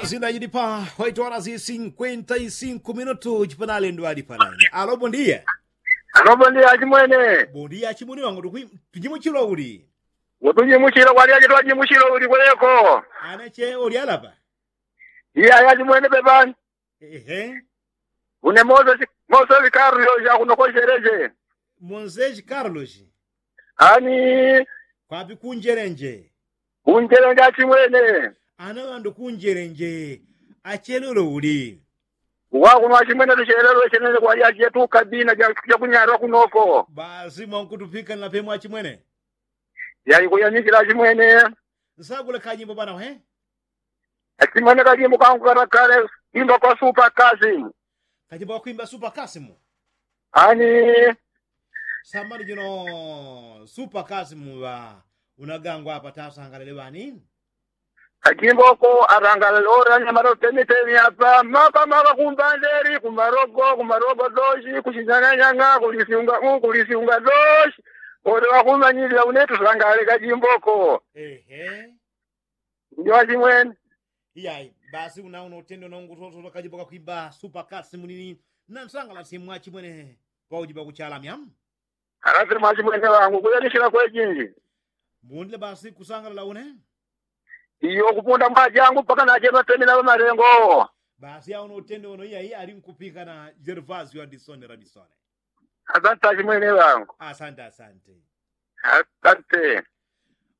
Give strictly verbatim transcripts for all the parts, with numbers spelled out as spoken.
Sindajilipa. Waitwala si sinkwenta i sinku minutu chipanalendo alipanaine alo bondiya. Alo bondiya achimwene. Bondiya achimwene wangu tujimuchilo uli? Utujimuchilo kwalyache twajimuchilo uli kweleko? Anache ulyalapa. Iya yachimwene pepani. Ehe. Une mose mose vikarlo yakunokosheleche. Mose vikarlo. Ani. Kwapi kunjelenje? Kunjelenje achimwene. Ana ŵandu kunjelenje. Achelelo uli? Wakuno achimwene tuchelelo chenene kwalyache tukabina jakunyarwa kunoko. Basi mwankutupika napemwa achimwene. Yaikuyanikila achimwene. Nsagule kanyimbo bana we. Achimwene kajimbo kangu karakale. Imba kwa supa kasimu. Kajimbo kakwimba supa kasimu. Ani. Samani jino supa kasimu ŵa unagangwa apa tasangalele ŵani. Kajimboko arangalale ora nyamara utemitemi apa mapa mapa kumbanderi kumarogo kumarogo doshi kushinyang'anyang'a kulisiunga u kulisiunga doshi. Ore wakumanyilila une tusangale kajimboko. Ehe. Ndi wachimwene. Iyayi. Basi una uno utendo nongu toto kajimbo kakwimba supa kasi munini. Nansangala simwachimwene paujiba kuchalamya. Alasile mwachimwene wangu kuyanisila kwejinji. Mbundile basi kusangalala une. Iyo kupunda mwajangu paka nachema temina ŵamalengo. Basi auno utende uno iyayi ali nkupika na jervasio adisone radisone. Asante achimwene wangu. Asante asante. Asante.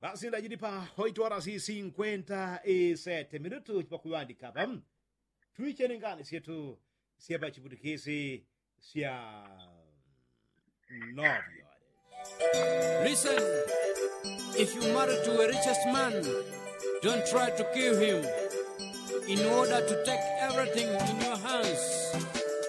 Basi ndajilipa hoitwala si sinkwenta i sete minutu chipakuŵandika apa. Twichene ngani syetu syepa chiputikisi sya novyo. Listen, if you marry to a richest man, don't try to kill him in order to take everything in your hands.